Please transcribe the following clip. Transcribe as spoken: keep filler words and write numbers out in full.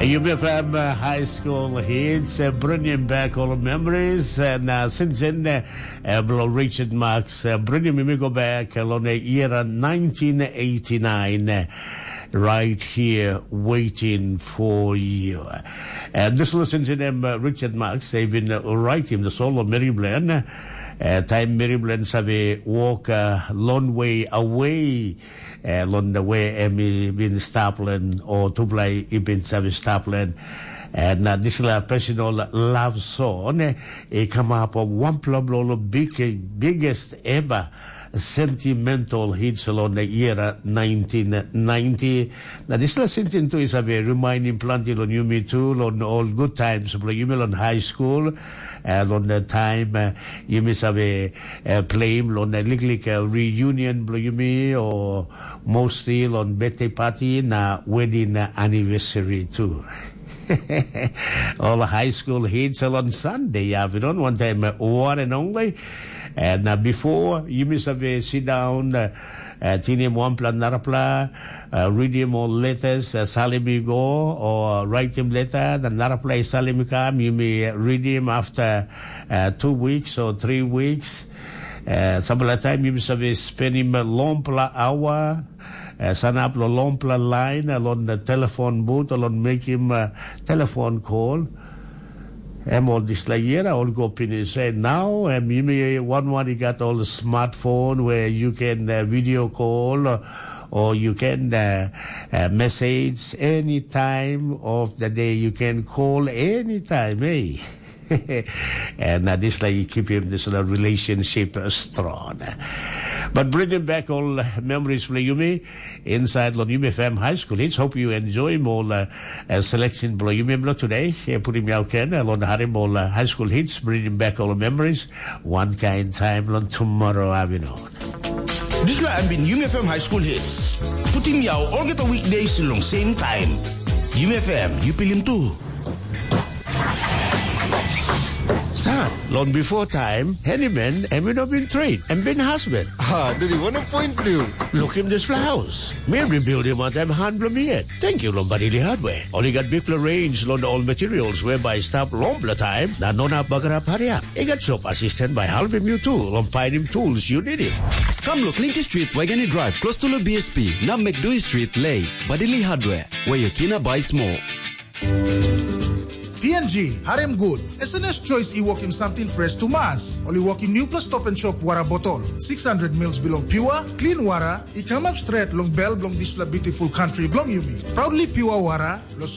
Yumi FM uh, High School Hits, uh, bringing back all the memories. And uh, since then, uh, uh, below Richard Marks, uh, bringing me go back uh, on the year uh, nineteen eighty-nine, uh, right here waiting for you. And this listen to them, uh, Richard Marks, they've been uh, writing the solo Mary Bland. Uh, time Mary Bland save walk a long way away. Eh, long the way em i bin stap long o tupela i bin save stap long. And uh, this la personal love song eh, i come up of one problem big biggest ever sentimental hits along the year uh, nineteen ninety. Now this la sentence too is a very reminding plenty on yumi too on all good times but yumi on high school and on the time uh, yumi save uh, play him on the liklik uh, reunion blo yumi or mostly long birthday party na wedding anniversary too. All high school hits on Sunday afternoon, one time uh, one and only. And uh, before you miss a sit down, uh, uh, tinim one plan narapla, uh, read him all letters, uh, salim you go, or write him letter, the narapla salim you come, you may read him after uh, two weeks or three weeks. Uh, some of the time you miss a spend him a long pla hour, uh, sanap lo long pla line, uh, long the telephone booth, long make him a telephone call. Em ol dispela year ol go pinis. And now em yumi one one you got all the smartphone where you can uh, video call or, or you can uh, uh, message any time of the day. You can call anytime, hey. And uh, this like you keep him this uh, relationship uh, strong. But bringing back all uh, memories for Yumi inside Lon Yumi F M High School. It's hope you enjoy more uh, uh, selection below Yumi below today. Uh, put him out can uh, Lon Harim all uh, high school hits, bringing back all memories. One kind time Lon tomorrow afternoon. Dispela em bin Yumi F M High School Hits. Putim yau olgeta weekdays long same time. Yumi F M, yu pilim tu. Sat, long before time, handyman, em you know been trade, em been husband. Ah, dadi, wanem point blu? Look him this house. Me rebuild him at em hand blo me yet. Thank you, long Badili Hardware. Only got big range long all materials whereby stop long blo time, na no na bagarap hurry up. He got shop assistant by helping you too, long finding tools you need it. Come look Linky Street, Wageni Drive, close to the B S P, na McDui Street, Lay, Badili Hardware, where you can buy small. P N G, harim gut. S N S Choice i wokim samting fresh tumas. Ol i wokim newpela stop and shop wara botol. Six hundred mils bilong pure, clean wara, i kamap stret long bel bilong dispela beautiful country bilong yumi. Proudly pure wara, lo